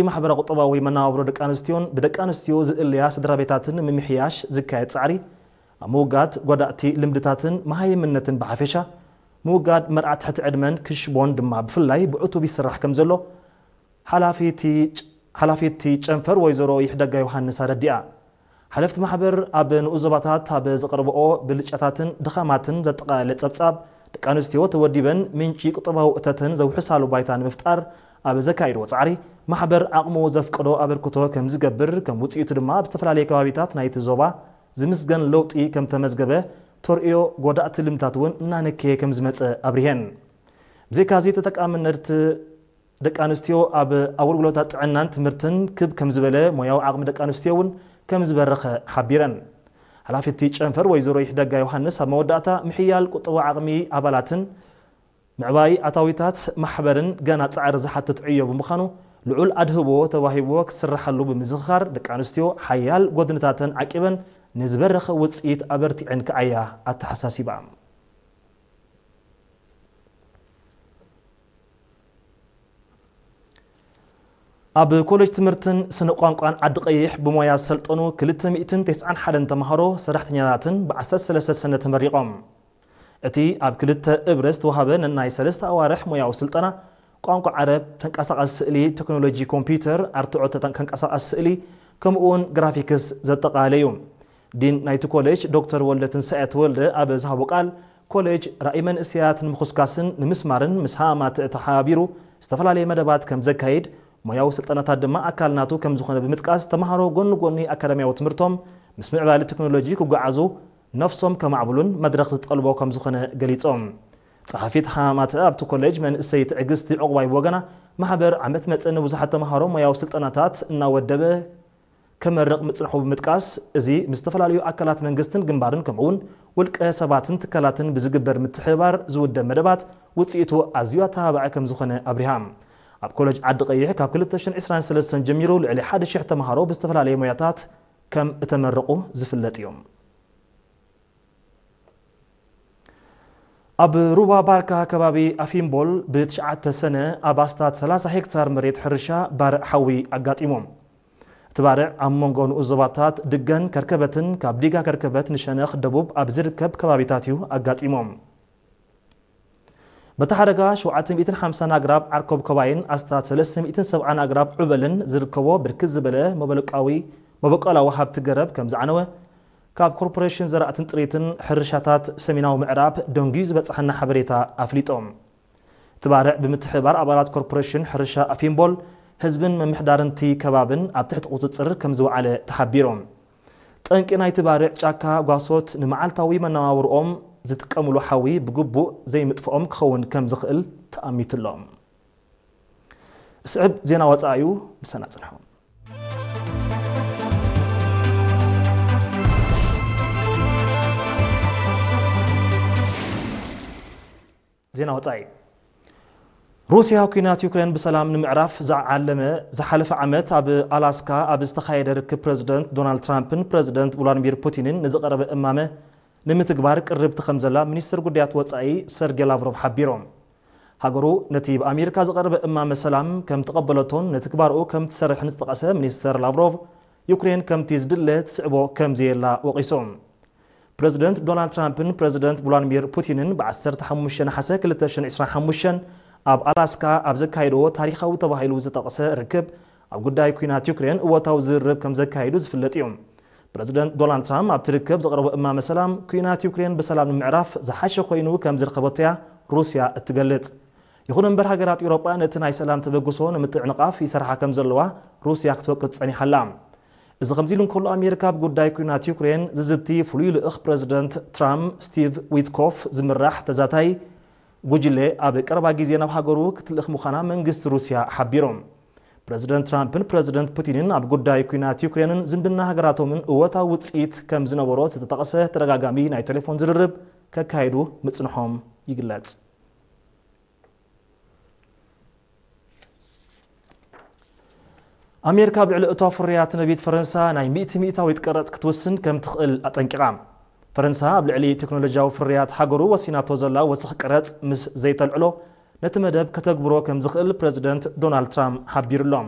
ማሕበረ ቁጠባዊ መነባብሮ ደቂ ኣንስትዮን ብደቂ ኣንስትዮ ዝእለያ ስድራ ቤታትን ንምምሕያሽ ዝካየድ ጻዕሪ፣ ኣብ ምውጋድ ጎዳእቲ ልምድታትን መሃይምነትን ብሓፈሻ፣ ምውጋድ መርዓ ትሕቲ ዕድመን ክሽቦን ድማ ብፍላይ ብዕቱብ ይስራሕ ከም ዘሎ ሓላፊቲ ጨንፈር ወይዘሮ ይሕደጋ ዮሃንስ ኣረዲኣ። ሓለፍቲ ማሕበር ኣብ ንኡስ ዞባታት ኣብ ዘቕርብኦ ብልጫታትን ድኻማትን ዘጠቓለለ ጸብጻብ፣ ደቂ ኣንስትዮ ተወዲበን ምንጪ ቁጠባዊ እተተን ዘውሕሳሉ ባይታ ንምፍጣር ኣብ ዘካይድዎ ጻዕሪ፣ ማሕበር ዓቕሙ ዘፍቅዶ ኣበርክቶ ከም ዝገብር፣ ከም ውጽኢቱ ድማ ኣብ ዝተፈላለየ ከባቢታት ናይቲ ዞባ ዝምስገን ለውጢ ከም ተመዝገበ ተርእዮ ጎዳእቲ ልምታት እውን እናነከየ ከም ዝመጸ ኣብሪሄን። ብዘይካዚ ተጠቃምነት ደቂ ኣንስትዮ ኣብ ኣገልግሎታት ጥዕናን ትምህርትን ክብ ከም ዝበለ፣ ሞያዊ ዓቕሚ ደቂ ኣንስትዮ እውን ከም ዝበረኸ ሓቢረን። ሓላፊቲ ጨንፈር ወይዘሮ ይሕደጋ ዮሃንስ ኣብ መወዳእታ፣ ምሕያል ቁጠባዊ ዓቕሚ ኣባላትን ምዕባይ ኣታዊታት ማሕበርን ገና ጻዕሪ ዝሓትት ዕዮ ብምዃኑ፣ ልዑል ኣድህቦ ተዋሂብዎ ክስርሓሉ ብምዝኽኻር፣ ደቂ ኣንስትዮ ሓያል ጎድንታተን ዓቂበን ንዝበረኸ ውጽኢት ኣበርቲዐን ክዓያ ኣተሓሳሲባ። ኣብ ኮሌጅ ትምህርትን ስነ ቋንቋን ዓዲ ቀይሕ ብሞያ ዝሰልጠኑ ክልተ ሚእትን ተስዓን ሓደን ተምሃሮ ሰራሕተኛታትን ብ ዓሰርተ ሰለስተ ሰነ ተመሪቖም። እቲ ኣብ ክልተ እብረ ዝተዋህበ ነናይ ሰለስተ ኣዋርሕ ሞያዊ ስልጠና ቋንቋ ዓረብ፣ ተንቀሳቓሲ ስእሊ፣ ቴክኖሎጂ ኮምፒውተር፣ ኣርትዖ ተንቀሳቓሲ ስእሊ፣ ከምኡውን ግራፊክስ ዘጠቓለለ እዩ። ዲን ናይቲ ኮሌጅ ዶክተር ወልደ ትንሳኤ ተወልደ ኣብ ዝሃቦ ቃል፣ ኮሌጅ ራእይ መንእሰያት ንምኹስካስን ንምስማርን ምስ ሃማማተ ተሓባቢሩ ዝተፈላለየ መደባት ከም ዘካይድ፣ ሞያዊ ስልጠናታት ድማ ኣካል ናቱ ከም ዝኾነ ብምጥቃስ፣ ተምሃሮ ጎኒ ጎኒ ኣካዳሚያዊ ትምህርቶም ምስ ምዕባለ ቴክኖሎጂ ክጓዓዙ ነፍሶም ከማዕብሉን መድረኽ ዝጠልቦ ከም ዝኾነ ገሊጾም። ጸሓፊት ሃማማተ ኣብቲ ኮሌጅ መንእሰይ ትዕግስቲ ዕቑባይ ብወገና፣ ማሕበር ዓመት መጸ ንብዙሓት ተምሃሮ ሞያዊ ስልጠናታት እናወደበ ከመርቕ ምጽንሑ ብምጥቃስ፣ እዚ ምስ ዝተፈላለዩ ኣካላት መንግስትን ግንባርን ከምኡውን ውልቀ ሰባትን ትካላትን ብዝግበር ምትሕብባር ዝውደብ መደባት ውጽኢቱ ኣዝዩ ኣተባባዒ ከም ዝኾነ ኣብሪሃ። ኣብ ኮሌጅ ዓዲ ቀይሕ ካብ ክልተ ሽሕን ዕስራን ሰለስተን ጀሚሩ ልዕሊ ሓደ ሽሕ ተምሃሮ ብዝተፈላለየ ሞያታት ከም እተመረቑ ዝፍለጥ እዩ። ኣብ ሩባ ባርካ ከባቢ ኣፊምቦል ብትሽዓተ ሰነ ኣብ ኣስታት ሰላሳ ሄክታር መሬት ሕርሻ ባርዕ ሓዊ ኣጋጢሞም። እቲ ባርዕ ኣብ መንጎ ንኡስ ዞባታት ድገን ከርከበትን ካብ ዲጋ ከርከበት ንሸነኽ ደቡብ ኣብ ዝርከብ ከባቢታት እዩ ኣጋጢሞም። በቲ ሓደጋ ሸውዓተ ሚእትን ሓምሳን ኣግራብ ዓርኮብ ከባይን ኣስታት ሰለስተ ሚእትን ሰብዓን ኣግራብ ዑበልን ዝርከቦ ብርክት ዝበለ መበለቃዊ መበቆላዊ ሃብቲ ገረብ ከም ዝዓነወ ካብ ኮርፖሬሽን ዘራእትን ጥሪትን ሕርሻታት ሰሜናዊ ምዕራብ ደንጉዩ ዝበጽሓና ሓበሬታ ኣፍሊጦም። እቲ ባርዕ ብምትሕብባር ኣባላት ኮርፖሬሽን ሕርሻ ኣፊምቦል ህዝብን ምምሕዳርንቲ ከባብን ኣብ ትሕቲ ቁጽጽር ከም ዝወዓለ ተሓቢሮም። ጠንቂ ናይቲ ባርዕ ጫካ ጓሶት ንመዓልታዊ መነባብርኦም ዝጥቀምሉ ሓዊ ብግቡእ ዘይምጥፍኦም ክኸውን ከም ዝኽእል ተኣሚትሎም። ስዕብ ዜና ወጻኢ እዩ፣ ምሳና ጽንሑ። ዜና ወጻኢ። ሩስያ ኲናት ዩክሬን ብሰላም ንምዕራፍ ዝዓለመ ዝሓለፈ ዓመት ኣብ ኣላስካ ኣብ ዝተኻየደ ርክብ ፕረዚደንት ዶናልድ ትራምፕን ፕረዚደንት ቭላድሚር ፑቲንን ንዝቐረበ እማመ ንምትግባር ቅርብቲ ከም ዘላ ሚኒስትር ጉዳያት ወጻኢ ሰርጌ ላቭሮቭ ሓቢሮም። ሃገሩ ነቲ ብኣሜሪካ ዝቐረበ እማመ ሰላም ከም ተቐበለቶን ንትግባርኡ ከም ትሰርሕን ዝጠቐሰ ሚኒስተር ላቭሮቭ፣ ዩክሬን ከምቲ ዝድለ ትስዕቦ ከም ዘየላ ወቒሶም። ፕረዚደንት ዶናልድ ትራምፕን ፕረዚደንት ቭላድሚር ፑቲንን ብ ዓሰርተ ሓሙሽተ ነሓሰ ክልተ ሽሕን ዕስራን ሓሙሽተን ኣብ ኣላስካ ኣብ ዘካየድዎ ታሪኻዊ ተባሂሉ ዝተጠቕሰ ርክብ፣ ኣብ ጉዳይ ኲናት ዩክሬን እወታዊ ዝርርብ ከም ዘካየዱ ዝፍለጥ እዩ። ፕረዚደንት ዶናልድ ትራምፕ ኣብቲ ርክብ ዘቕረቦ እማመ ሰላም፣ ኲናት ዩክሬን ብሰላም ንምዕራፍ ዝሓሸ ኮይኑ ከም ዝረኸበቶ'ያ ሩስያ እትገልጽ። ይኹን እምበር፣ ሃገራት ኤውሮጳ ነቲ ናይ ሰላም ተበግሶ ንምትዕንቓፍ ይሰርሓ ከም ዘለዋ ሩስያ ክትወቅስ ጸኒሓ ኣላ። እዚ ከምዚ ኢሉ እንከሎ፣ ኣሜሪካ ኣብ ጉዳይ ኲናት ዩክሬን ዝዝቲ ፍሉይ ልኡኽ ፕረዚደንት ትራምፕ ስቲቭ ዊትኮፍ ዝምራሕ ተዛታይ ጉጅለ ኣብ ቀረባ ግዜ ናብ ሃገሩ ክትልእኽ ምዃና መንግስቲ ሩስያ ሓቢሩ። ፕረዚደንት ትራምፕን ፕረዚደንት ፑቲንን ኣብ ጉዳይ ኲናት ዩክሬንን ዝምድና ሃገራቶምን እወታዊ ውጽኢት ከም ዝነበሮ ዝተጠቕሰ ተደጋጋሚ ናይ ቴሌፎን ዝርርብ ከካይዱ ምጽንሖም ይግለጽ። ኣሜሪካ ኣብ ልዕሊ እቶ ፍርያት ነቢት ፈረንሳ ናይ ሚእቲ ሚእታዊት ቀረጽ ክትውስን ከም ትኽእል ኣጠንቂቓ። ፈረንሳ ኣብ ልዕሊ ቴክኖሎጂያዊ ፍርያት ሃገሩ ወሲናቶ ዘላ ወሰኽ ቀረጽ ምስ ዘይተልዕሎ፣ ነቲ መደብ ከተግብሮ ከም ዝኽእል ፕረዚደንት ዶናልድ ትራምፕ ሓቢሩሎም።